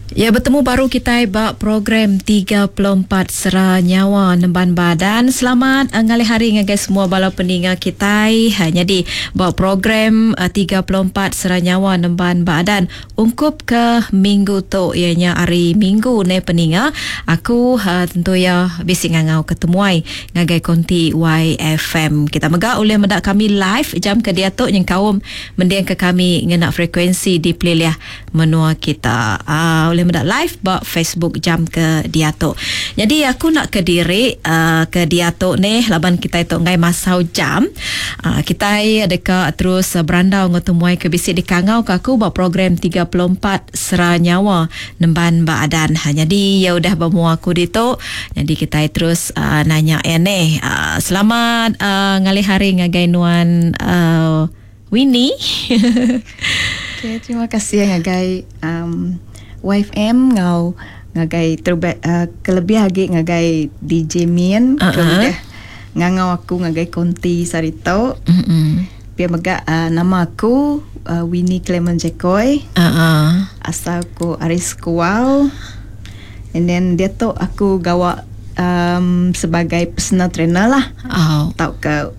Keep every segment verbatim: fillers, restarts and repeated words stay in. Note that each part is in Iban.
Ya, betemu baru kita ba program tiga puluh empat Sera Nyawa Nemban Badan. Selamat uh, ngalih hari ngagai semua bala peninga kita. Ha, jadi ba program uh, tiga puluh empat Sera Nyawa Nemban Badan ungkup ke minggu tu ianya hari Minggu ne peninga. Aku uh, tentu ya bisi ngangau ketemuai ngagai konti Y F M. Kita mega oleh mendak kami live jam ke dia tu nyengkaum mendiang ke kami ngena frekuensi di pelilih menua kita. Uh, oleh mendak live ba Facebook jam ke dia tu. Jadi aku nak ke diri uh, ke dia tu ni laban kita tu ngai masau jam. Uh, kita deka terus uh, berandau ngau temuai ke bisi di kangau ke aku ba program tiga puluh empat Sera Nyawa Nemban Badan. Ha, jadi ya udah bermua aku ditu. Jadi kita terus uh, nanya ya ni. Uh, selamat uh, ngalih hari ngagai nuan uh, Winnie. Okay, terima kasih ngagai um, Y F M ngau ngagai terbe, uh, kelebih lagi ngagai D J Min uh-huh. Kemudian ngangau aku ngagai konti sarito. Uh-huh. Pia mega uh, nama aku uh, Winnie Clement Jekoy. Uh-huh. Asal aku Aris Kuau. And then dia tu aku gawa um, sebagai personal trainer lah. Oh. Tau ke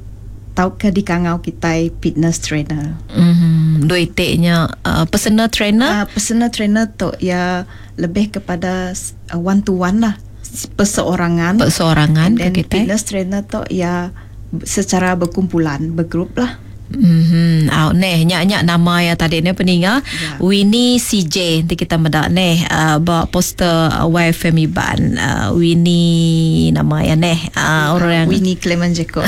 tau ke di kangau kita fitness trainer. Mm-hmm. Dua itiknya uh, personal trainer? Uh, personal trainer tu ya lebih kepada uh, one to one lah, perseorangan. Perseorangan. And then ke kita. Fitness trainer tu ya secara berkumpulan, bergrup lah. Mm-hmm. Oh, neh nyak-nyak nama ya tadi ni peninga ya. Winnie C J nanti kita medak neh uh, ba poster uh, Y F M Iban uh, Winnie nama ya neh uh, orang yang Winnie Clement Jekoy.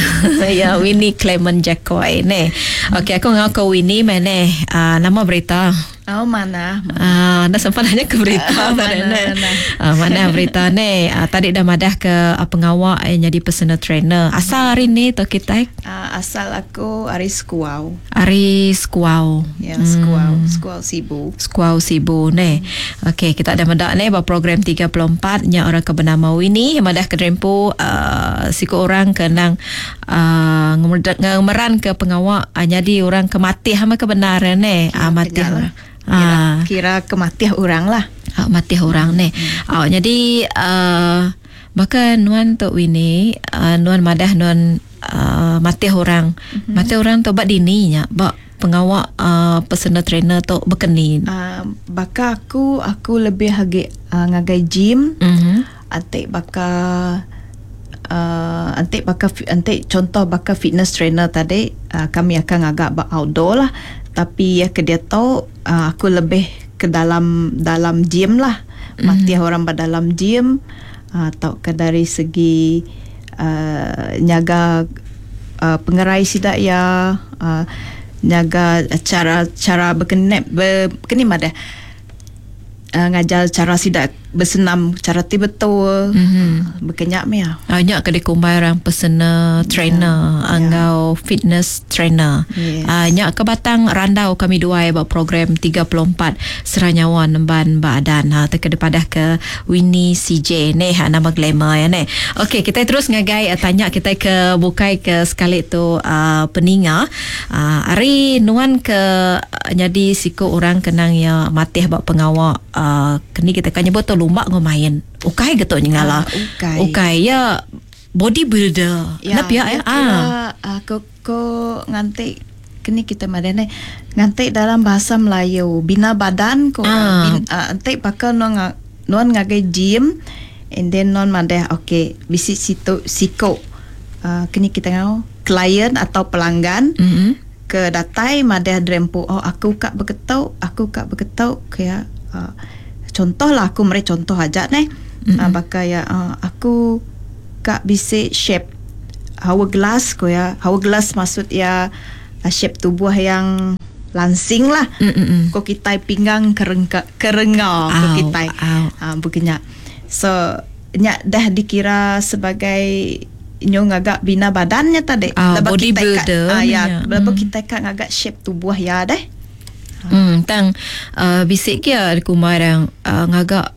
Ya, Winnie Clement Jekoy neh. Okey, aku ngau Winnie meh uh, nama berita. Oh, mana? Ah, uh, dah sempat nanya ke berita uh, tadi mana, ne. Mana. Uh, mana berita ne? Uh, tadi dah madah ke uh, pengawak yang jadi personal trainer. Asal hari ni tu kita? Uh, asal aku hari Skuau. Hari Skuau. Ya, yeah, Skuau, hmm. Skuau Sibu. Skuau Sibu ne. Okey, kita ada mendak ne ba program tiga puluh empat nya orang ke bernama Winnie madah ke rempu uh, siku orang ke nang uh, ngemeran ke pengawak uh, jadi orang ke mati hama kebenaran ne. Ya, uh, mati orang. Kira, ah. kira kematian orang lah. Ah, mati orang ni. Hmm. Ah, jadi uh, bahkan nuan tu Winnie, uh, nuan madah nuan uh, mati orang. Mm-hmm. Mati orang tu bak dini nya, bak pengawak uh, personal trainer tu berkeni. Uh, baka aku aku lebih hagi uh, ngagai gym. Mm-hmm. Antik baka uh, antik baka antik contoh baka fitness trainer tadi uh, kami akan agak bak outdoor lah. Tapi ya ke dia tahu uh, aku lebih ke dalam dalam gym lah. Mm-hmm. Mati orang pada dalam gym uh, atau ke dari segi uh, nyaga uh, pengerai sidak ya uh, nyaga cara cara berkenep berkenim ada uh, ngajar cara sidak bersenam cara ti betul. Mm-hmm. Berkenyak mia. Banyak ke dikumbai orang personal trainer yeah. Angau fitness trainer. Yes. Uh, nyak ke batang randau kami dua buat program tiga puluh empat Sera Nyawa Nemban Badan. Ha teka depadah ke Winnie C J ni ha, nama glamour ya ni. Okey, kita terus ngagai uh, tanya kita ke bukai ke sekali tu uh, peninga. Uh, hari nuan ke uh, jadi siku orang kenang ya matih buat pengawak uh, kini kita kan nyebut tu lumba ngau main. Ukai getuk nyengala. Uh, ukai. Ukai ya bodybuilder. Ya, Nap ya, ya. Ah, aku ko nganti kini kita madene nganti dalam bahasa Melayu bina badan ko ah. bin, uh, anti bakal nuan nuan ngagai gym and then nuan madeh okey bisi situ siko uh, kini kita ngau klien atau pelanggan mm-hmm. ke datai madeh drempu oh aku kak berketuk aku kak berketuk kaya uh, contoh lah aku meri contoh aja neh. Mm-hmm. Uh, bakal ya uh, aku kak bisi shape hourglass ko ya. Hourglass maksud ya uh, shape tubuh yang langsing lah. Mm-hmm. Ko kita pinggang kerengka kerenga ko kita. Uh, bukannya. So nyak dah dikira sebagai nyo ngagak bina badannya tadi. Uh, bodybuilder. Ah uh, ya, mm. kita kak ngagak shape tubuh ya deh. Hmm, tang uh, bisik kia kumarang uh, ngagak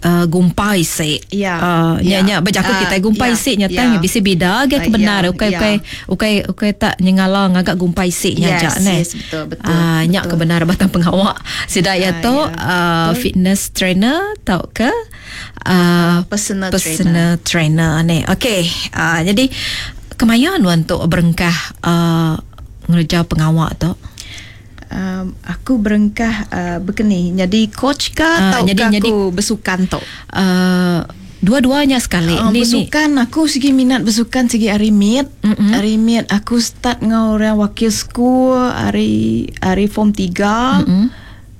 uh, gumpai sik. Ya. Uh, nya Ya. nya berjaku Ah, kita gumpai ya. sik nya tang Ya. bisi bida ge Ah, kebenar ya. ukai Ya. ukai ukai ukai tak nyengala ngagak gumpai sik nya Yes, jak ne. yes, betul, betul, Ah, nya betul. kebenar batang pengawak sida ya Ah, tu ya. uh, fitness trainer tau ke uh, Personal personal trainer, trainer ni. Okey, uh, jadi kemaya nuan tu berengkah uh, ngerja pengawak tu? Um, aku berengkah uh, berkeni jadi coach ke Ah, atau jadi- ke jadi- aku bersukan tu? Uh, dua-duanya sekali. Uh, ni ni. bersukan aku segi minat bersukan segi hari mid. Mm-mm. Hari mid aku start ngau orang wakil school hari hari form tiga. Mm-mm.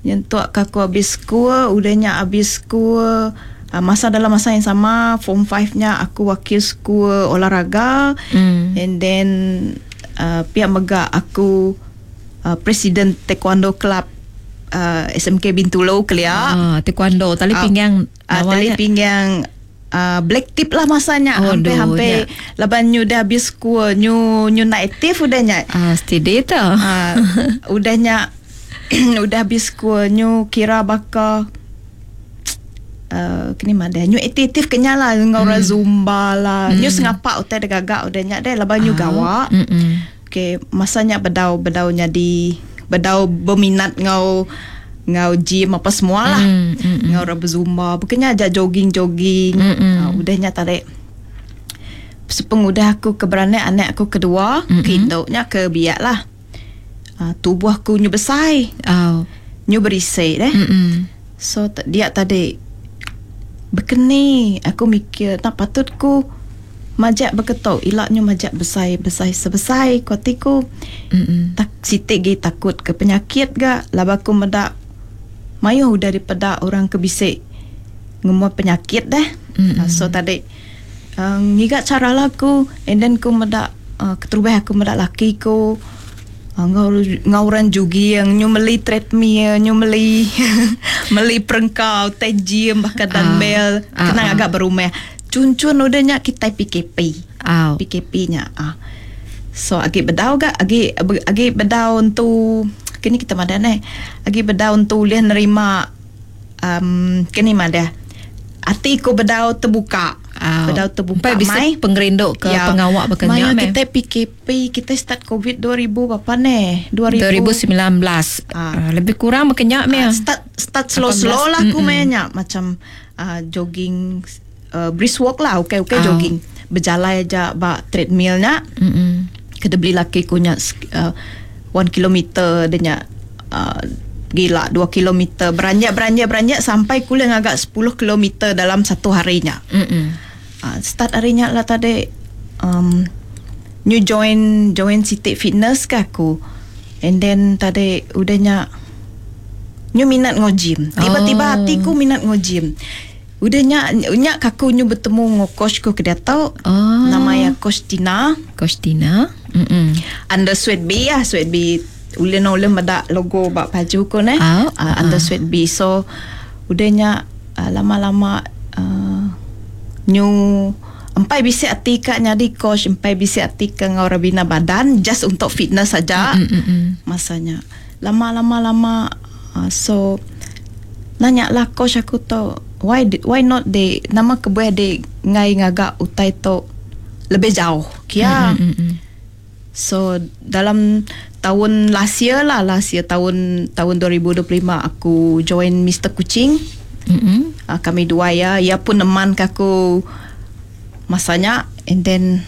Nyentuk ke aku habis school, udahnya habis school uh, masa dalam masa yang sama form five nya aku wakil school olahraga. Mm. And then uh, pihak megak aku uh, presiden taekwondo club uh, S M K Bintulu kelia. Ah, taekwondo tali Ah, pinggang ah, tali nawanya. pinggang uh, black tip lah masanya. Oh, Hampir-hampir nya. laban nyu dah habis school, nyu nyu nak aktif udahnya. Ah, steady tu. Ah, udahnya udah habis school nyu kira baka Uh, kini mah dah nyu aktif kenyal lah ngau orang zumba lah. Nyu sengapak utai dah gagak udahnya dah laban nyu Ah, gawak. Mm-mm. Okey, masanya bedau bedau nyadi bedau berminat ngau ngau gym apa semua lah. Mm, mm, mm. Ngau orang berzumba, bukannya ajak jogging-jogging. Mm, mm. Uh, udahnya tarik. Sepengudah aku keberanian anak aku kedua, Mm, ke mm. induknya ke biak lah. Uh, tubuh aku nyu besar, Oh. nyu berisi deh. Mm mm. So t- dia tadi berkeni aku mikir tak patut ku majak berketok ilaknya majak besar besar sebesar kuatiku Mm-mm. tak sitik gi takut ke penyakit ga laba aku medak mayuh udah daripada orang ke bisik ngemua penyakit dah. Mm-mm. Uh, so tadi uh, ngiga cara lah aku and then ku medak uh, keterubah aku medak laki ku uh, ngau ngauran jugi yang nyu meli treadmill nyu meli meli perengkau teh gym bahkan Ah. dumbbell Ah, kena ah. agak berumah cun-cun udahnya kita P K P. Aw. P K P nya ah. So agi bedau ga agi agi bedau untuk kini kita madan eh. Agi bedau untuk ulih nerima um, kini madah. Ati ku bedau terbuka. Aw. Bedau terbuka Sampai bisa mai. pengerindu ke Ya. pengawak berkenyak Maya meh. kita P K P kita start COVID dua ribu berapa ni? dua ribu sembilan belas. Ah. Ah, lebih kurang berkenyak meh. Ah, start start slow-slow lah aku mainnya macam uh, jogging uh, brisk walk lah okey okey Ah. jogging berjalan aja bak treadmillnya Mm-mm. kena beli laki ku nya uh, one kilometer dia nya uh, gila dua kilometer beranjak beranjak beranjak sampai kuliah agak sepuluh kilometer dalam satu harinya. Mm-mm. Uh, start harinya lah tadi um, new join join City Fitness ke aku and then tadi udahnya new minat ngo gym tiba-tiba Oh. hatiku minat ngo gym udahnya nya kaku nyu bertemu ngo coach ku ke dia tau Oh. namanya coach Tina Coach Tina. Mm-mm. under Sweat B lah Sweat B ulin ulin medak logo bak baju ku ne Ah, uh, under Sweat B so udahnya uh, lama-lama uh, nyu empai bisik ati kak nyadi coach empai bisik ati ke ngau rabina badan just untuk fitness saja Mm-mm. masanya lama-lama lama uh, so nanya lah coach aku tu why why not they nama kebuah they ngai ngagak utai tu lebih jauh kia. Mm-mm. So dalam tahun last year lah last year tahun tahun dua ribu dua puluh lima aku join Mister Kucing. Mm-mm. Uh, kami dua ya ia pun neman ke aku masanya and then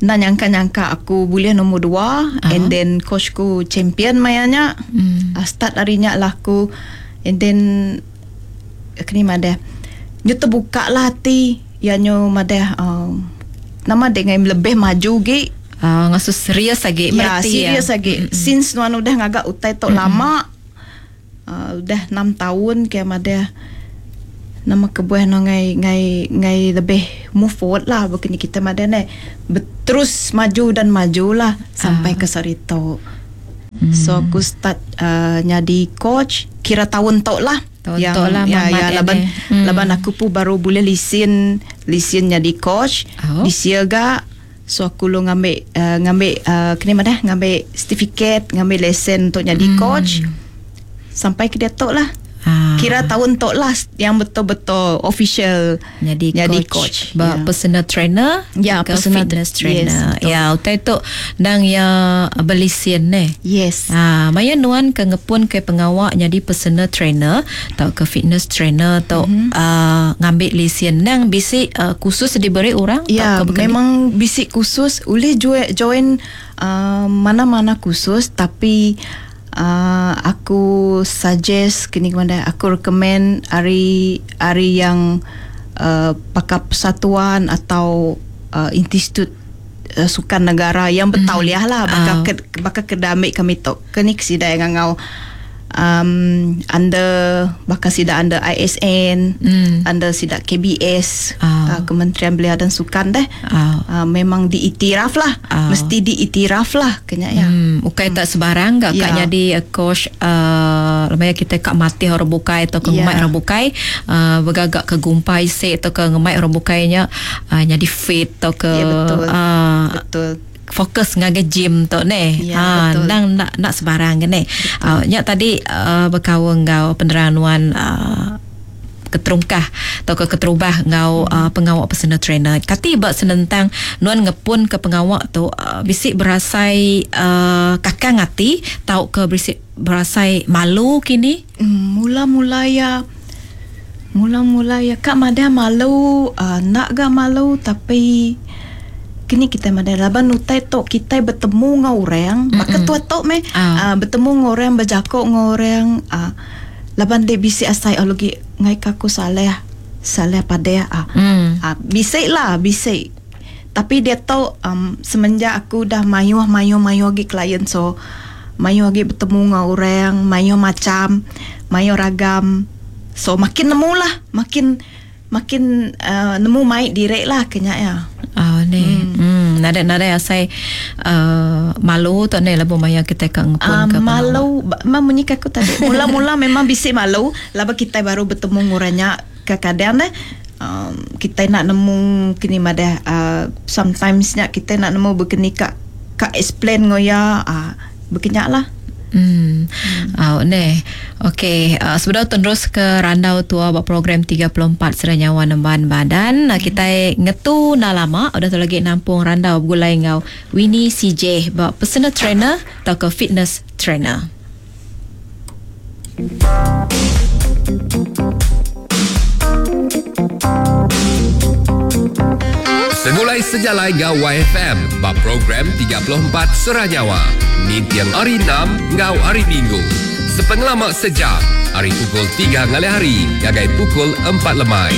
nak nyangka-nyangka aku boleh nombor dua Ah. and then coach ku champion mayanya. Mm. Uh, start harinya lah aku and then kini madah nyu terbuka lah hati ya nyu madah um, nama dengan lebih maju ge. Ah, ngasu serius lagi Ya, merti serius lagi. Mm-mm. Since nuan udah ngagak utai tok lama uh, udah enam tahun ke madah nama kebuah no ngai ngai ngai lebih move forward lah begini kita madah ne terus maju dan maju lah sampai Ah. ke sarito. So aku start uh, nyadi coach kira tahun tok lah. Tahun yang, tok lah, ya, Mamat ya, laban ini. Hmm. laban aku pun baru boleh lisen lisen nyadi coach. Oh. This year ga so aku lu ngambil uh, ngambil uh, kini mana ngambil sertifikat, ngambil lesen untuk nyadi Hmm. coach. Sampai ke dia tok lah. Ah. Kira tahun tok lah yang betul-betul official jadi jadi coach, coach. Ba Ya. personal trainer Ya, ke personal fitness tra- yes, trainer. betul. Ya, utai tu nang ya belisian ne. Yes. Ha, maya nuan ke ngepun ke pengawak jadi personal trainer atau ke fitness trainer atau mm-hmm. uh, ngambil lesen nang bisi uh, khusus diberi orang Ya, atau ke bukan? memang bisik khusus boleh join, join uh, mana-mana khusus tapi uh, aku suggest kini kepada aku recommend hari hari yang uh, pakar persatuan atau uh, institut uh, sukan negara yang bertauliah lah bakal Ah. ke, bakal kedamik kami tok kini kesida yang ngau um, under bakal sida under I S N Hmm. under sida K B S Ah. uh, Kementerian Belia dan Sukan deh Ah. uh, memang diiktiraf lah Ah. mesti diiktiraf lah kena ya Hmm, ukai tak sebarang gak kak Ya. jadi uh, coach uh, lemaya kita kak mati orang bukai atau ke Ya. ngemai orang bukai uh, bergagak ke gumpai sik atau ke ngemai orang bukainya uh, jadi fit atau ke Ya, betul. uh, betul fokus ngagai gym tu ne. Ya, ha betul. nang nak nak sebarang ke ne. Uh, nyak tadi uh, berkawan ngau penerangan uh, keterungkah atau ke keterubah ngau uh, pengawak personal trainer. Kati bak senentang nuan ngepun ke pengawak tu uh, bisik berasai uh, kakang hati tau ke bisik berasai malu kini. Hmm, mula-mula ya mula-mula ya kak madah malu uh, nak gak malu tapi kini kita madah laban utai tok kita bertemu dengan orang maka tua tok me Ah. uh, bertemu dengan orang berjakok dengan orang uh, laban dek bisik asai oh lagi ngai kaku saleh saleh pada ah Hmm. Ah, bisik lah, bisik. Tapi dia tahu um, semenjak aku dah mayuh mayuh mayuh lagi klien so mayuh lagi bertemu dengan orang, mayuh macam, mayuh ragam. So makin nemu lah, makin makin uh, nemu mai direk lah kenya ya. Ah ni. Hmm. hmm. Nada-nada asai uh, malu tu ne labu maya kita ke ngepun Uh, ke pengawak. malu, memang bunyi aku tadi. Mula-mula memang bisik malu, laba kita baru bertemu ngurangnya kadang deh. Um, kita nak nemu kini madah uh, sometimes nya kita nak nemu berkeni kak kak explain ngoya uh, berkenyak lah. Hmm. Hmm. Oh, ne. Okey, uh, sebelum terus ke randau tua buat program tiga puluh empat Sera Nyawa Nemban Badan, uh, kita ngetu na lama udah tu lagi nampung randau bergulai ngau Winnie C J buat personal trainer atau ke fitness trainer. Segulai sejalai ngau Y F M bab program tiga puluh empat Sera Nyawa. Nintiang hari enam ngau hari Minggu. Sepengelamak sejam, hari pukul tiga ngalih hari, gagai pukul empat lemai.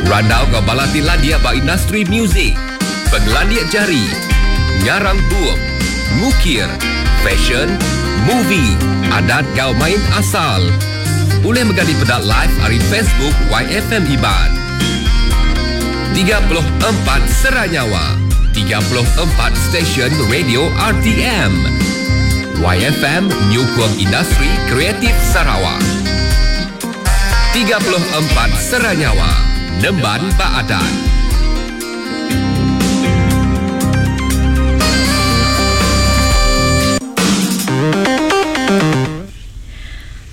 Randau ngau balati landia ba industri muzik, penglandia jari, ngarang buop, ngukir, fashion, movie, adat gau main asal. Boleh menggali pedak live hari Facebook Y F M Iban. tiga puluh empat Sera Nyawa, tiga puluh empat Stesen Radio R T M. Y F M Nyukung Industri Kreatif Sarawak. tiga puluh empat Sera Nyawa, Nemban Baadan.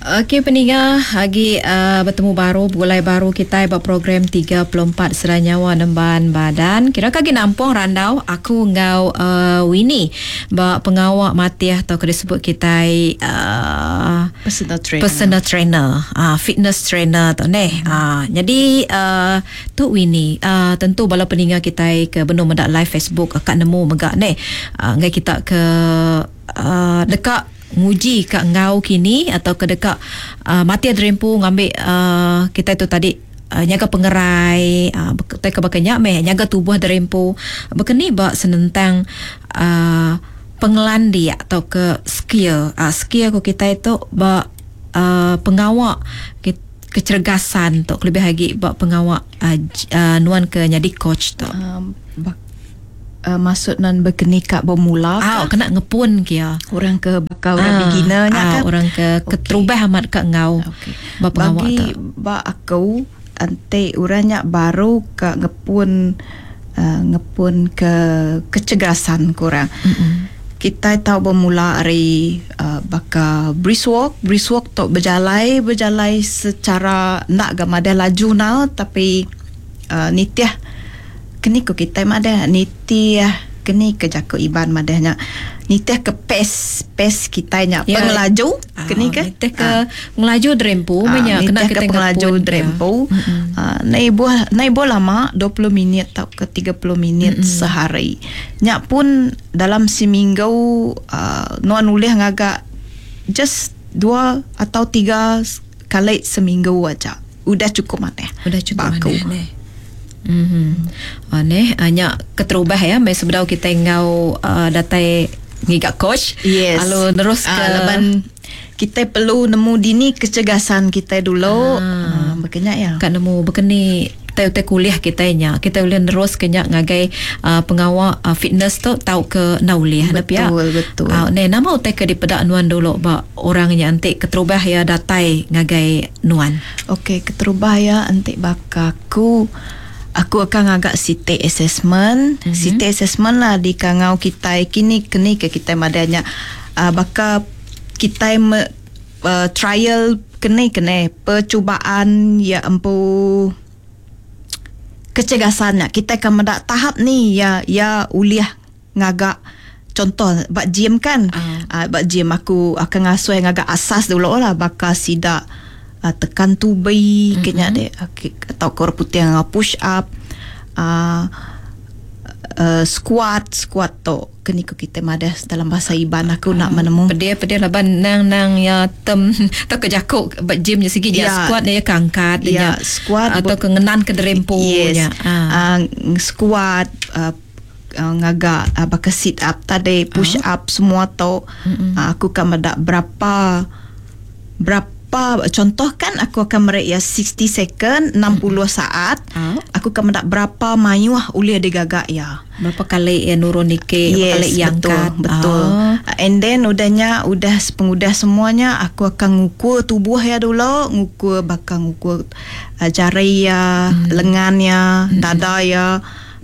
Okey peningah lagi uh, bertemu baru bergulai baru kita buat program tiga puluh empat Sera Nyawa Nemban Badan. Kira kaki nampung randau aku ngau uh, Winnie bak pengawak matiah atau kena sebut kita uh, Personal trainer. Personal trainer, uh, fitness trainer tu neh. Uh, jadi uh, tu Winnie uh, tentu bala peningah kita ke benung mendak live Facebook akak nemu megak neh. Uh, ngai kita ke uh, dekat nguji kat ngau kini atau ke dekat uh, mati adrempu ngambil uh, kita itu tadi uh, nyaga pengerai uh, ke bakanyak meh nyaga tubuh derempu bekeni bak senentang uh, pengelandi atau ke skill uh, skill ko kita itu bak uh, pengawak ke, kecergasan tu lebih lagi bak pengawak uh, uh, nuan ke jadi coach tu Um, bak, uh, maksud nan berkeni kat bermula ah kena ngepun kia orang ke bakal orang Ah, beginner nya ah, kan orang ke Okey. keterubah amat kat ngau Okey. bak pengawak Bagi tu bak aku ante orangnya baru ke ngepun uh, ngepun ke kecergasan kurang. Mm-mm. Kita tahu bermula hari uh, baka brisk walk, brisk walk tu berjalai berjalai secara nak gak madah laju now tapi uh, nitiah kini ko kita madah nitiah kini ke jako Iban madahnya nitih ke pace pace kita nya Ya. pengelaju Ah, kini ke nitih ke pengelaju derempu Ah, menya kena nitih kita ke pengelaju ngepun. derempu. Ah, naik buah naik buah lama dua puluh minit atau ke tiga puluh minit mm-hmm. sehari. Nyak pun dalam seminggu uh, nuan ulih ngagak just dua atau tiga kali seminggu aja. Udah cukup maneh. Udah cukup Baku. maneh neh. Mhm. Ah neh nya keterubah ya mai sebedau kita ngau uh, datai ngigak coach. Yes. Lalu terus ke Ah, laban kita perlu nemu dini kecergasan kita dulu. Ah, berkenyak ya. Kat nemu berkeni te-te kuliah kita nya. Kita boleh terus kenyak ngagai uh, pengawal uh, fitness tu tau ke nauliah Betul, na pia. betul. Ah ne nama utai ke dipedak nuan dulu ba orang nya antik keterubah ya datai ngagai nuan. Okey, keterubah ya antik bakaku aku akan agak C T assessment. Mm-hmm. C T assessment lah di kangau kita kini kini ke kita madanya uh, baka kita me, uh, trial kene kene percubaan ya empu kecergasannya kita akan mendak tahap ni ya ya uliah ngagak contoh bak gym kan Ah. uh. bak gym aku akan ngasuh yang agak asas dulu lah bakal sidak uh, tekan tubi mm-hmm. kenya dek atau kor putih yang push up uh, uh, squat squat tu kini ko kita madah dalam bahasa Iban aku nak menemu Pedih-pedih laban nang-nang ya tem atau ke jakuk ba gym nya sigi ya Ya. squat dia kangkat Ya, dia squat atau ke ngenan ke derempu yes. nya. Ah. Uh, squat uh, uh, ngagak uh, baka sit up tadi push uh. up semua tu uh, aku akan medak berapa berapa contoh kan aku akan merek ya sixty second enam puluh saat Ah. aku akan medak berapa mayuh ulia digagak ya. Berapa kali ya nurun nike, berapa kali Yes, yang betul, angkat. betul. Ah. And then udahnya, udah pengudah semuanya, aku akan ngukur tubuh ya dulu, ngukur bakal ngukur uh, jari ya, hmm. lengan ya, hmm. dada ya,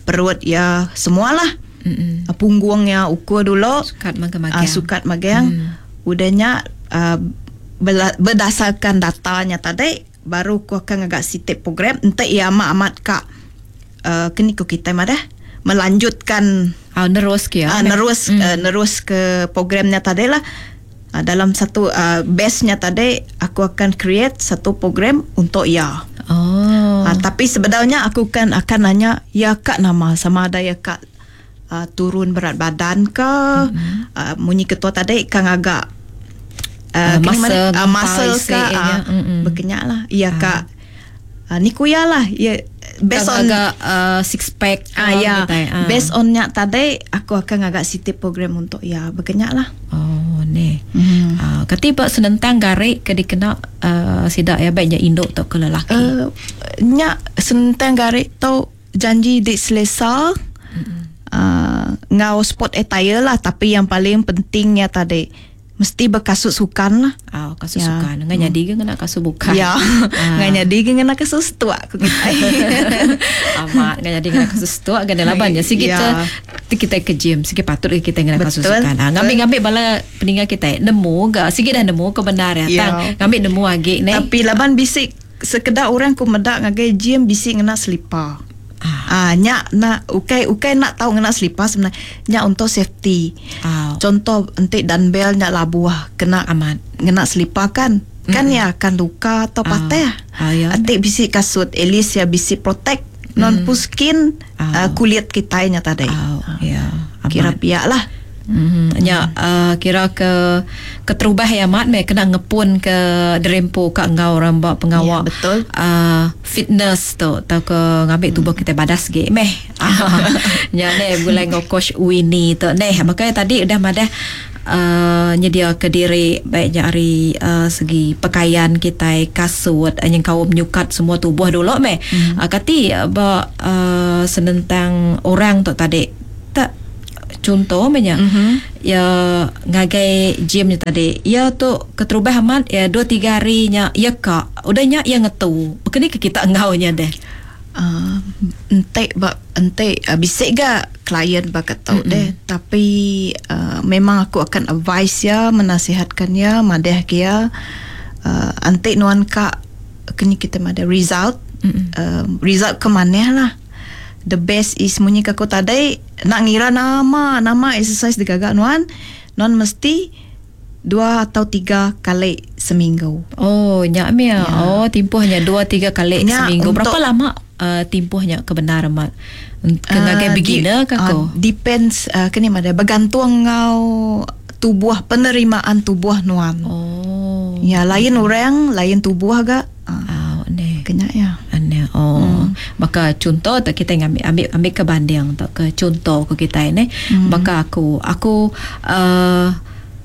perut ya, semualah. Mm-mm. Uh, punggung ya, ukur dulu. Sukat magang-magang. Uh, sukat magang. Hmm. Udahnya uh, bela- berdasarkan datanya tadi, baru aku akan agak sitip program. Entah ia amat-amat kak uh, kini ko kita madah melanjutkan Ah, nerus ke ya. Ah, nerus mm. uh, nerus ke programnya tadi lah. Uh, dalam satu uh, base-nya tadi aku akan create satu program untuk ya. Oh. Uh, tapi sebenarnya aku kan akan nanya ya kak nama sama ada ya kak uh, turun berat badan ke mm-hmm. uh, munyi ketua tadi kan agak Uh, uh, kini muscle, mana, uh, muscle isi ke nya. uh, Mm-mm. berkenyak lah ya kak uh, ni kuya lah ya based Kang on agak uh, six pack Ah ya, gitu, ah. based on nya tadi aku akan agak siti program untuk ya berkenyak lah. Oh ni. Hmm. Ah, ketiba senentang garik ke dikena uh, sidak ya baiknya induk atau ke lelaki. Uh, nya senentang garik tu janji dik selesa. Uh, ngau sport attire lah tapi yang paling pentingnya tadi mesti berkasut sukan lah. Ah, kasut Ya. sukan. Ngan jadi ke ngena kasut bukan. Ya. Ah. Ngan jadi ke ngena kasut setuak aku kita. Amat ngan jadi ngena kasut setuak kan laban ya. Sikit Ya. kita kita ke gym, sikit patut kita ngena kasut Betul. sukan. Ah, ngambil-ngambil bala peninggal kita nemu ga sikit dah nemu kebenar ya. Ya. Tang ngambil nemu agi ne. Tapi laban bisik sekedar orang ku medak ngagai gym bisik ngena selipar. Ah. Ah, nyak nak ukai ukai nak tahu ngena selipar sebenarnya nyak untuk safety. Ah. Contoh entik dumbbell nyak labuh kena Amat. ngena selipar kan. Kan mm. ya akan luka atau Ah. patah. Ah, ya. Entik bisik kasut at least ya bisik protect non mm. skin Ah. uh, kulit kita nya tadi. Ah, ya. Amat. Kira piak lah. Mm-hmm. Ya, uh, kira ke keterubah ya mat me kena ngepun ke derempo ka ngau ramba pengawak. Ya, betul. Uh, fitness tu atau ke ngambil tubuh kita badas ge meh. Ya ne gulai ngau coach Winnie tu neh. Makanya tadi udah madah uh, nyedia ke diri baiknya hari uh, segi pakaian kita kasut uh, yang kaum nyukat semua tubuh dulu meh. Mm. Uh, kati uh, ba uh, senentang orang tu tadi tak contoh menya mm-hmm. ya ngagai gym nya tadi ya tu keterubah amat ya dua tiga hari nya ya kak udahnya ya ngetu bekeni ke kita ngau nya deh. Uh, entek ba entek uh, bisik ga klien ba ketau mm-hmm. deh, tapi uh, memang aku akan advise ya, menasihatkan ya, madeh kia uh, antik nuan ka kini kita ada result mm-hmm. uh, result ke mana lah. The best is munyi ke aku tadi nak ngira nama nama exercise digagak nuan nuan mesti dua atau tiga kali seminggu. Oh, nyak mia. Ya. Oh, timpuhnya dua tiga kali nyak seminggu. Berapa lama uh, timpuhnya kebenaran mat? Ke ngagai uh, beginner ke ko? Uh, depends uh, kini mada bergantung ngau tubuh penerimaan tubuh nuan. Oh. Ya, lain orang, lain tubuh agak. Uh, oh, ne. Kena ya. Ane. Oh. Hmm. Maka contoh tak kita ngambil ambil ambil ke banding tak ke contoh ke kita ni. Hmm. Maka aku aku uh,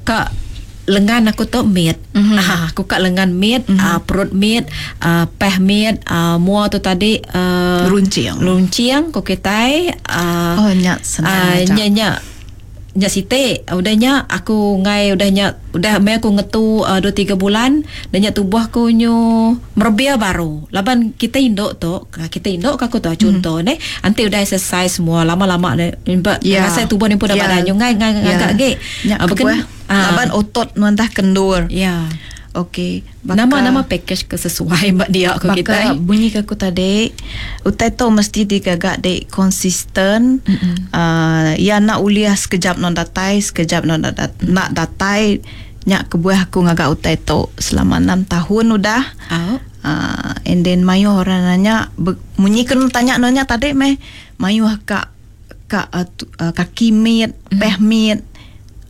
kak lengan aku tu mit. Mm-hmm. Ah, aku kat lengan mit, mm-hmm. uh, perut mit, uh, peh mit, uh, mua tu tadi uh, runcing. Runcing ko kitai uh, oh nyak senang. Uh, nyak nyak nyak site udahnya aku ngai udahnya udah me aku ngetu uh, dua tiga bulan dan nyak tubuh aku nyu merebia baru. Laban kita induk tu, kita induk aku tu contoh mm. ne, anti udah exercise semua lama-lama ne yeah. Rasa tubuh ni pun dah yeah. badan nyu ngai ngai yeah. agak ge. Uh, bukan laban otot nuan dah kendur. Ya. Yeah. Okey. Nama-nama package ke sesuai mbak dia aku kita. Bunyi ke aku tadi, utai tu mesti digagak dek konsisten. Mm-hmm. Uh, ya nak uliah sekejap non datai, sekejap non dat- mm. nak datai. Nyak kebuah aku ngagak utai tu selama enam tahun udah. Oh. Uh, and then mayu orang nanya, bunyi ke tanya nanya tadi meh, mayu kak kak uh, tu, uh, kaki mit, mm. peh mit.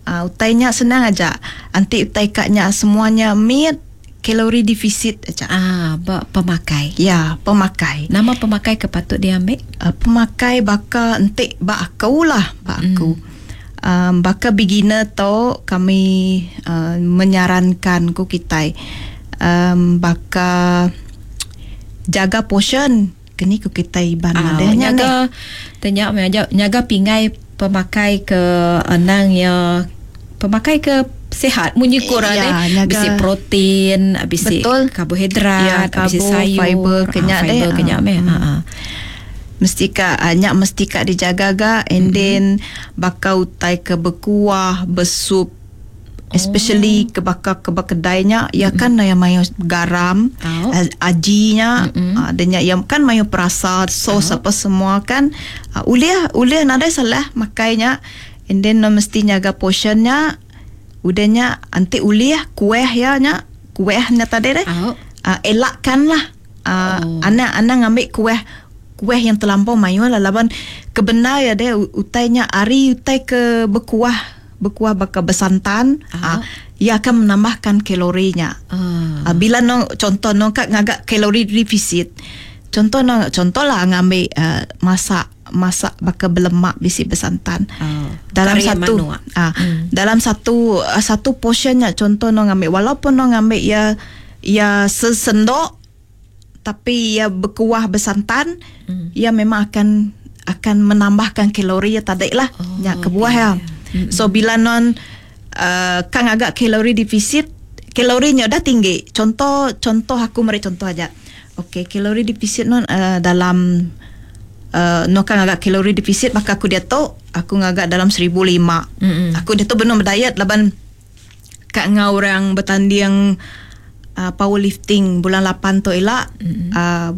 Uh, utainya senang aja. Anti utai kaknya semuanya mit kalori defisit aja. Ah, ba pemakai. Ya, pemakai. Nama pemakai ke patut diambil? Uh, pemakai baka entik ba aku lah, ba aku. Mm. Um, baka beginner tu kami uh, menyarankan ku kitai um, baka jaga portion. Kini ku kitai ban ah, madehnya nyaga tanya nyaga pingai pemakai ke anang ya pemakai ke sihat munyi kurang ya, eh bisi protein bisi karbohidrat ya, bisi sayur fiber kenyak ah, fiber deh kenyak meh hmm. ha ah. Mesti ka nyak mesti ka dijaga ga and mm-hmm. then bakau utai ke berkuah bersup especially oh. ke bakar ke kedainya ya kan mm-hmm. yang mayo garam oh. ajinya mm-hmm. adanya yang kan mayo perasa sos oh. apa semua kan uh, uliah uliah nadai salah makainya and then no mesti jaga portionnya udahnya anti uliah kueh ya nya kuehnya tadi deh oh. uh, elakkanlah uh, oh. anak-anak ngambil kueh kueh yang terlampau mayo lah laban kebenar ya deh utainya ari utai ke berkuah berkuah bakal bersantan oh. ah, ia akan menambahkan kalorinya. Ah. Ah, bila no contoh no kak ngagak kalori defisit. Contoh no contohlah ngambil uh, masak masak bakal berlemak bisi bersantan. Oh. Dalam Kari satu ah, hmm. dalam satu uh, satu portionnya contoh no ngambil walaupun no ngambil ya ya sesendok tapi ya berkuah bersantan hmm. ia memang akan akan menambahkan kalori ya tadi lah. Oh, Nyak kebuah okay. ya. Mm-hmm. So bila non uh, kang agak kalori defisit, kalorinya dah tinggi. Contoh contoh aku meri contoh aja. Okey, kalori defisit non uh, dalam uh, no kang agak kalori defisit maka aku dia tu aku ngagak dalam seribu lima. Mm-hmm. Aku dia tu benar berdiet laban kak ngau orang bertanding uh, powerlifting bulan lapan tu elak mm-hmm. uh,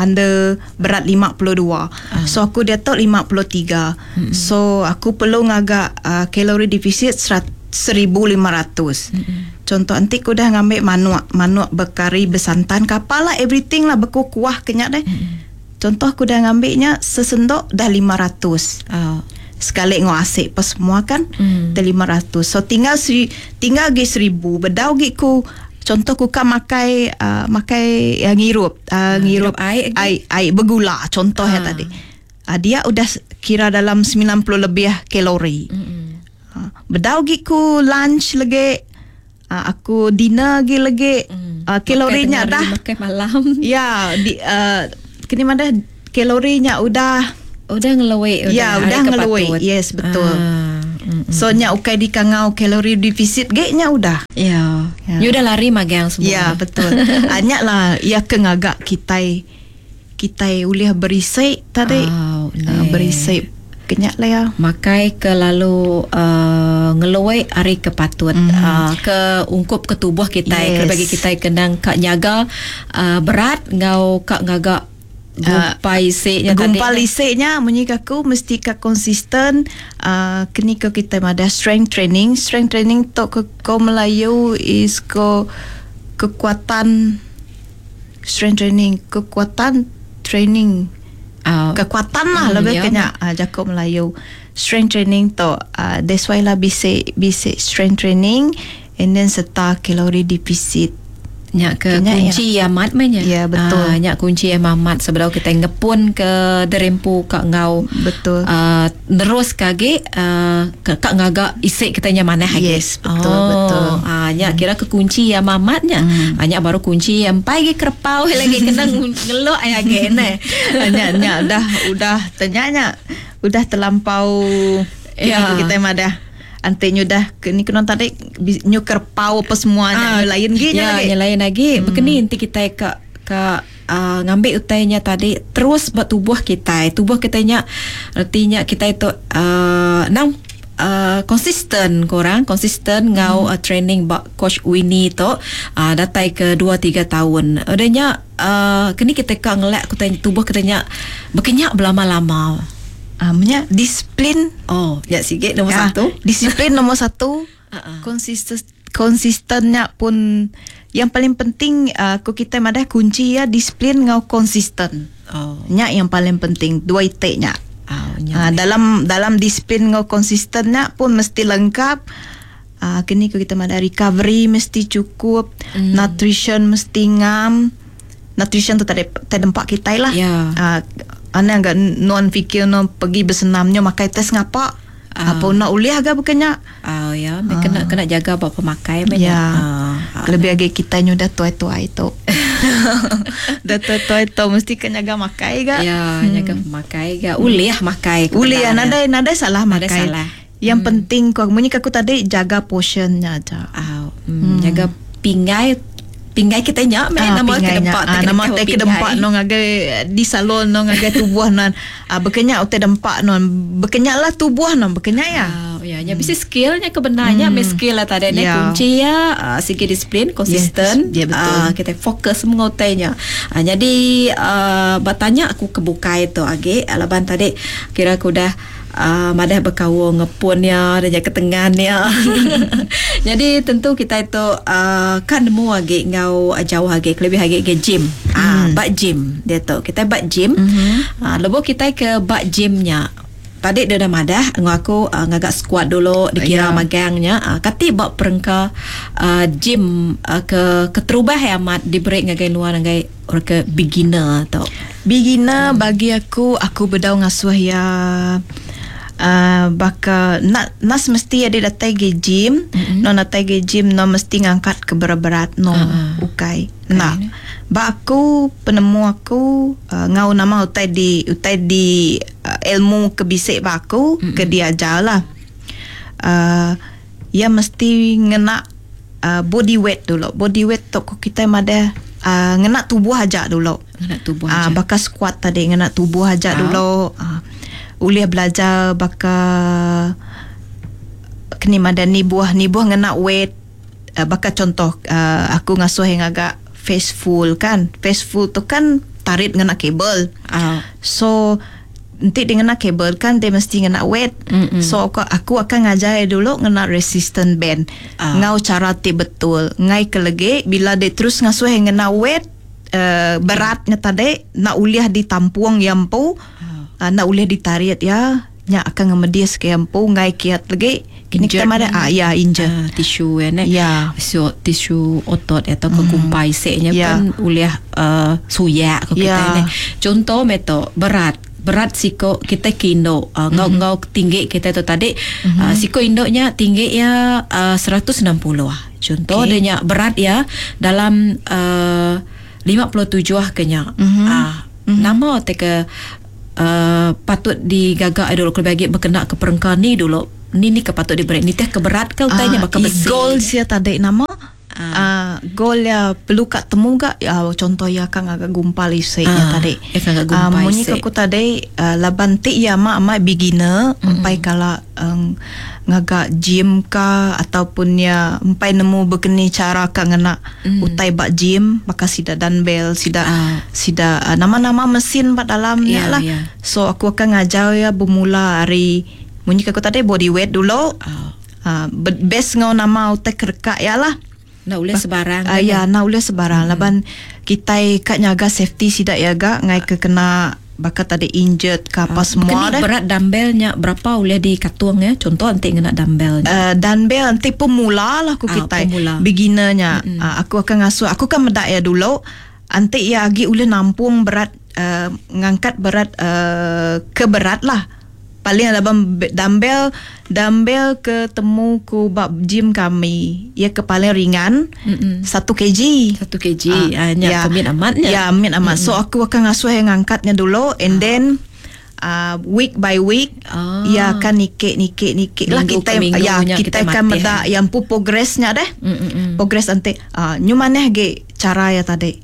under berat lima puluh dua. Ah. So aku dia tu lima puluh tiga. Mm-hmm. So aku perlu ngagak uh, kalori defisit seribu lima ratus. Mm-hmm. Contoh nanti aku dah ngambil manuk, manuk berkari bersantan kapal lah everything lah berkuah kenyak deh. Mm-hmm. Contoh aku dah ngambilnya sesendok dah lima ratus. Ah. Sekali ngau asik pas semua kan mm. dah lima ratus. So tinggal seri, tinggal gi seribu. Bedau gi ku contoh ku kan makai uh, makai uh, ngirup uh, ngirup air air, air bergula contoh Ah. ya tadi. Uh, dia udah kira dalam sembilan puluh lebih kalori. Mm-mm. Uh, bedau gi ku lunch lagi uh, aku dinner gi lagi Mm. uh, kalorinya Makai dah makai malam. Ya di uh, kini mana kalorinya udah Udah ngeluwe udah. Ya, udah hari ngeluwe. kepatut. Yes, betul. Ah, mm-mm. So nya ukai di kangau kalori defisit ge nya udah. Ya. Ya. You udah lari magang semua. Ya, betul. Anyak lah ia ke ngagak kitai Kita ulih berisi tadi. Oh, uh, berisi kenyak lah ya. Makai ke lalu uh, ngeluai hari ke patut mm. uh, ke ungkup ke tubuh kita, yes. Ke bagi kita kenang kak nyaga uh, berat ngau kak ngagak gumpai uh, isiknya tadi. Gumpal isiknya munyi aku mesti ka konsisten. Uh, kini ke kita ada strength training. Strength training tok ke ko Melayu is ko kekuatan strength training, kekuatan training. Uh, kekuatan lah mm, lebih ya. kena uh, jakop Melayu. Strength training tu uh, that's why lah basic basic strength training and then serta kalori deficit. Nyak ke Kenyak kunci ya. Amat mainnya. Ya, betul. Uh, nyak kunci yang amat sebelum kita ngepun ke derempu kak ngau. Betul. Uh, nerus kage uh, kak ngagak isik kita nya manah lagi. Yes, betul, oh, betul. Ah, uh, nyak kira ke kunci yang amatnya. Hmm. Uh, nyak baru kunci yang pai ge kerpau lagi kena ngelok ai age ne. Nyak nyak dah udah tanya udah terlampau Ya. Kita madah. Ante nyu dah ke ni kena tadi nyu kerpau apa semuanya Ah, nyu lain gi ya, lagi. Yang lain lagi. Hmm. Begini nanti kita ke ke uh, ngambil utainya tadi terus buat tubuh kita. Tubuh kita nya artinya kita itu uh, nang Uh, konsisten korang konsisten ngau hmm. uh, training bak coach Winnie tu uh, datai ke dua tiga tahun. Adanya uh, kini kita ka ngelak kita tubuh kita nya berkenyak berlama-lama. Ah, uh, disiplin. Oh, ya sikit nombor Ya, satu. Disiplin nombor satu. Uh-uh. Konsisten konsistennya pun yang paling penting uh, ku kita madah kunci ya disiplin ngau konsisten. Oh. Nya yang paling penting dua itiknya. Oh, Uh, dalam dalam disiplin ngau konsistennya pun mesti lengkap. Uh, kini ku kita madah recovery mesti cukup, Mm. nutrition mesti ngam. Nutrition tu tadi tadi tempat kita lah. Ya. Uh, ana enggak non fikir non pergi bersenamnya makai tes ngapa. Ah. Apa nak uliah agak bukannya? Oh ya, uh. kena kena jaga buat pemakai men. Ya. Ah. Lebih lagi kita ni dah tua-tua itu. Dah tua-tua itu mesti kena jaga makai ga. Ya, hmm. jaga pemakai ga. Uliah makai. Uliah kebenarannya. nadai nadai salah Nadai makai. salah. Yang hmm. penting kau munyi aku tadi jaga portionnya aja. Ah, hmm. Jaga pinggai pinggai kita nyak men Ah, nama ke pinggainya. dempak Ah, nama te ke dempak no ngagai di salon no ngagai tubuh non. Ah berkenyak utai dempak non. Berkenyaklah tubuh non berkenyak ya. Ah, ya, nya bisi skillnya kebenarnya, hmm. skill lah tadi ni Ya. kunci ya, uh, segi disiplin, konsisten. Yes, ya, betul. Ah, kita fokus mengutainya. Ah, jadi uh, bertanya aku kebukai tu age, alaban tadi kira aku dah Uh, madah berkawung ngepunnya dan ya ketengannya. Jadi tentu kita itu uh, kan nemu age ngau jauh age lebih age ke gym. Ah, Hmm. bak gym dia tu. Kita bak gym. Mhm. Ah, lebuh kita ke bak gymnya. Tadi dia dah madah ngau aku uh, ngagak squat dulu dikira Ya. magangnya. Uh, kati bak perengka uh, gym uh, ke keterubah yang amat diberi ngagai nuan ngagai orang ke beginner tu. Beginner hmm. bagi aku aku bedau ngasuh ya uh, baka nak nas mesti ada datang ke gym, mm-hmm. no datang ke gym no mesti ngangkat ke berat-berat no Ah. ukai. Nak. Ba aku penemu aku uh, ngau nama utai di utai di uh, ilmu kebisik ba aku mm-hmm. ke diajar lah. Uh, ya mesti ngena uh, body weight dulu. Body weight tu kita mada uh, ngena tubuh aja dulu. Ngena tubuh Ah, aja. bakal squat tadi ngena tubuh aja Ah. dulu. Ah, boleh belajar bakal kini madani buah ni buah ngena weight. Uh, bakal contoh uh, aku ngasuh yang agak face full kan. Face full tu kan tarik ngena kabel. Ah. So nanti dia ngena kabel kan dia mesti ngena weight. Mm-mm. So aku, aku akan ngajar dia dulu ngena resistant band. Ah. Ngau cara ti betul. Ngai kelege bila dia terus ngasuh yang ngena weight uh, beratnya tadi nak uliah ditampung yang pu Ah. uh, nak uliah ditarik ya nya akan ngemedis ke yang pu ngai kiat lagi. Kini kita Injured. ada ah ya injured. Ah, tisu ya ne. Ya. So tisu otot atau ke gumpai seknya Ya. pun uliah uh, suyak ke kita Ya. ni. Contoh meto berat berat siko kita ke induk uh, ngau ngau tinggi kita tu tadi mm-hmm. uh, siko induknya tinggi ya uh, seratus enam puluh ah. Contoh Okey. okay. dia nya berat ya dalam uh, lima puluh tujuh ah kenya. Mhm. Ah, mm-hmm. Nama te ke uh, patut digagak dulu kalau bagi berkena ke perengka ni dulu. Ni ni ke patut diberi. Ni teh keberat ke utainya Ah, bakal besi. Goal sia tadi nama Ah. Uh, goal ya perlu kat temu gak uh, contoh ya kan agak gumpal isi Ah, ya tadi. ya kan agak gumpal uh, munyi isi. aku tadi uh, laban ti ya mak mak beginner mm-hmm. empai kala um, ngagak gym ka ataupun ya empai nemu begini cara ka ngena mm. utai bak gym maka sida dumbbell sida Ah. sida uh, nama-nama mesin bak dalamnya Ya, lah. ya. So aku akan ngajar ya bermula hari munyi aku tadi body weight dulu. Ah. Uh, best ngau nama utai kerekak ya lah. Nak boleh sebarang. Uh, kan, ya, nak boleh sebarang. Hmm. Laban kita kat nyaga safety sidak ya gak ngai ke kena bakal tadi injured ke apa uh, semua Kini dah. berat dumbbellnya berapa boleh dikatung ya? Contoh nanti kena dumbbellnya. Uh, dumbbell nanti pemula lah aku Ah, kita pemula. beginnernya. Mm-hmm. Uh, aku akan ngasuh aku kan medak ya dulu. Nanti ya agi boleh nampung berat uh, ngangkat berat uh, ke berat lah. Paling laban dumbbell dumbbell ke temu ku bab gym kami ya ke paling ringan satu kg. Satu kg. Ah, nya kemit amatnya. Ya, amit amat. So aku akan ngasuh yang angkatnya dulu and then uh, week by week Ah. ya akan nikik nikik nikik lah Minggu kita ke minggu ya nya kita, kita akan matih, medak yang pu progressnya deh. Mm, mm, mm. Progress nanti uh, nyu maneh ge cara ya tadi.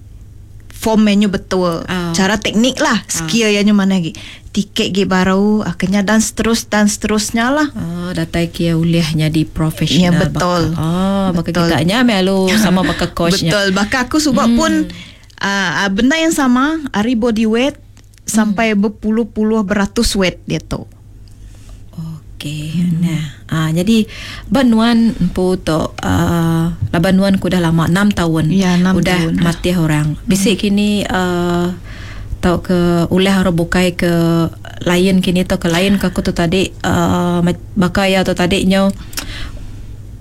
Form menu betul. Ah. Cara teknik lah, skill ya nyu maneh ge. Tiket ge baru akhirnya dan seterus dan seterusnya lah. Ah, datai kia ulihnya di profesional. Ya, betul. Baka, ah, baka Betul. kita nya melu sama baka coachnya. Betul. Bahkan aku sebab hmm. pun uh, uh, benda yang sama, hari body weight sampai berpuluh-puluh beratus weight dia tu. Okey. Hmm. Nah, ah jadi banuan empu tu uh, labanuan ku dah lama enam tahun. Ya, enam udah tahun. mati orang. Bisik hmm. kini uh, tau ke ulah orang bukai ke lain kini tau ke lain ke aku tu tadi uh, baka ya tu tadi nyo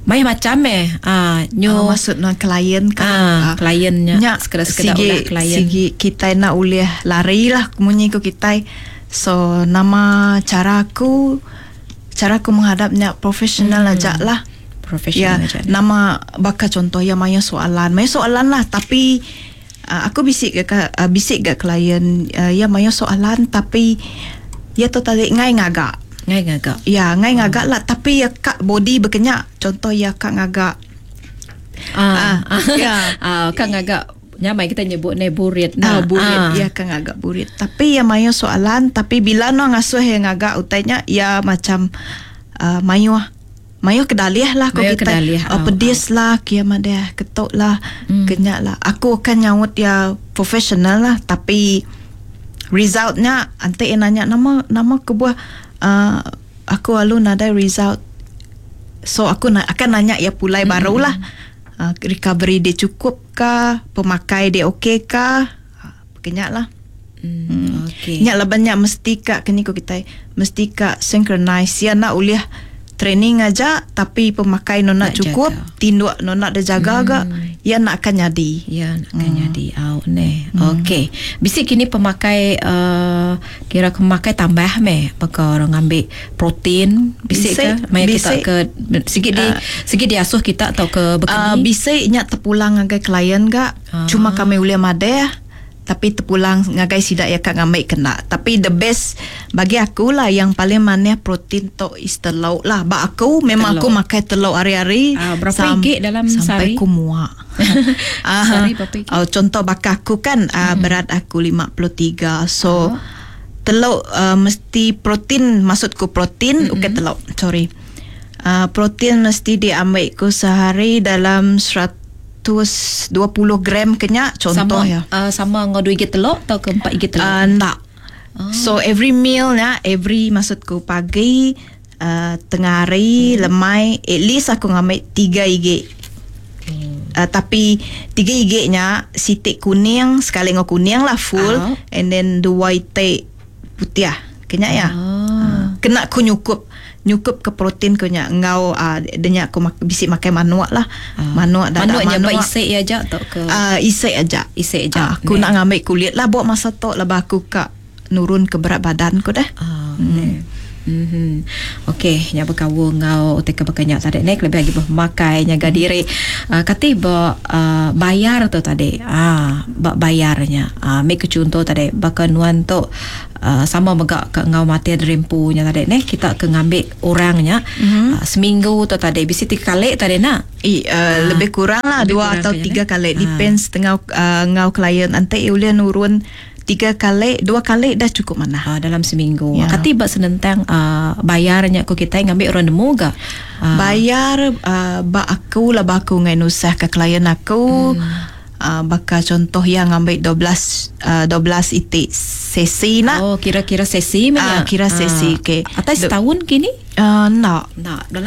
mai macam eh ah nyo Uh, maksud nak klien kan. Ah, kliennya. Nya, Sekadar-sekadar sigi, ulah klien. Sigi kita nak ulih lari lah munyi ku kita. So nama cara aku cara aku menghadapnya profesional hmm. aja lah. Profesional ya, aja. Nama bakal contoh ya maya soalan. Maya soalan lah tapi uh, aku bisik ke uh, bisik ke klien uh, ya maya soalan tapi ya tu tadi ngai ngagak. Ngai ngagak. Ya, ngai ngagak lah tapi ya kak body berkenyak. Contoh ya kak ngagak. Ah, Ah, ya. Ah, kak ngagak nyamai kita nyebut ne burit Nah, nah. burit Ah. ya kan agak burit. Tapi ya mayo soalan tapi bila no ngasuh yang agak utainya ya macam uh, mayo mayo kedaliah lah ko Mayo kita. kedaliah, Oh, oh, pedis lah kia madeh ketuk lah hmm. kenyak lah. Aku akan nyaut ya profesional lah tapi resultnya nanti yang nanya nama nama kebuah uh, aku alu nadai result. So aku na, akan nanya ya pulai hmm. barulah. Uh, recovery dia cukup kah, pemakai dia okey kah? Uh, kenyak lah. Hmm, okey. Nyak lah banyak mesti kak kini ko kita mesti kak synchronize ya nak uliah training aja tapi pemakai no nak Nak cukup, jaga. tinduk no nak dia jaga hmm. gak, ya nak akan jadi. Ya, nak hmm. jadi au ne. Hmm. Okey. Bisik kini pemakai uh, kira pemakai tambah meh baka orang ambil protein bisik, Bisik, ke maya kita bisik. ke sikit di Ah. sikit diasuh kita atau ke Uh, bekeni. bisik nyak terpulang ngagai klien gak. Ah. Cuma kami uliah madeh tapi terpulang ngagai sidak ya kak ngambil kena. Tapi the best bagi aku lah yang paling manis protein tok is telur lah. Bak aku memang Telur. aku makan telur hari-hari. Ah, berapa igik dalam sampai sehari? ku muak. Ah, Sehari berapa igik? Oh, contoh bakar aku kan uh, hmm. berat aku lima puluh tiga. So Ah. telur uh, mesti protein maksudku protein mm-hmm. bukan telur sorry. Uh, protein mesti diambil ku sehari dalam seratus dua puluh gram kenyak contoh sama, ya. Uh, sama dengan dua igit telur atau ke empat igit telur? Uh, tak. Oh. So every meal nya every maksudku pagi uh, tengah hari hmm. lemai at least aku ngambil tiga igit. Hmm. Uh, tapi tiga igitnya sitik kuning sekali ngau kuning lah full Ah. and then dua itik putih ah. Kenyak ya. Ah. Uh, kena ku nyukup nyukup ke protein ku nya ngau uh, denya aku mak, bisik makan manuak lah. Ah. Manuak dadak Manuaknya manuak. bak isik ya aja atau ke Uh, isik aja. Isik aja. Ah, aku Nek. nak ngambil kulit lah buat masa tok lah aku kak nurun ke berat badan ku dah. Ah, hmm. Mhm. Okey, nya berkaul ngau utai ke bakanya tadi nek lebih lagi pemakai nyaga diri. Uh, kati ba uh, bayar tu tadi. Ah, ba bayarnya. Ah, make contoh tadi baka nuan tu uh, sama mega ke ngau mati derimpu nya tadi nek kita ke ngambil orangnya mm-hmm. uh, seminggu tu tadi bisi tiga kali tadi nak. I, uh, lebih kurang lah Lebih dua kurang atau kayaknya, tiga eh? kali Ah. depends tengah uh, ngau klien nanti ulih nurun tiga kali dua kali dah cukup mana Uh, dalam seminggu. Ya. Kati ba senentang uh, bayarnya ko kita ngambil orang nemu ga. Uh, Bayar uh, ba aku lah ba aku ngai nusah ke klien aku. Hmm. Uh, baka contoh yang ambil dua belas uh, dua belas itik sesi nak. Oh, kira-kira sesi Ah, uh, kira sesi, okey. Atas setahun kini? Uh, nak. Nak dalam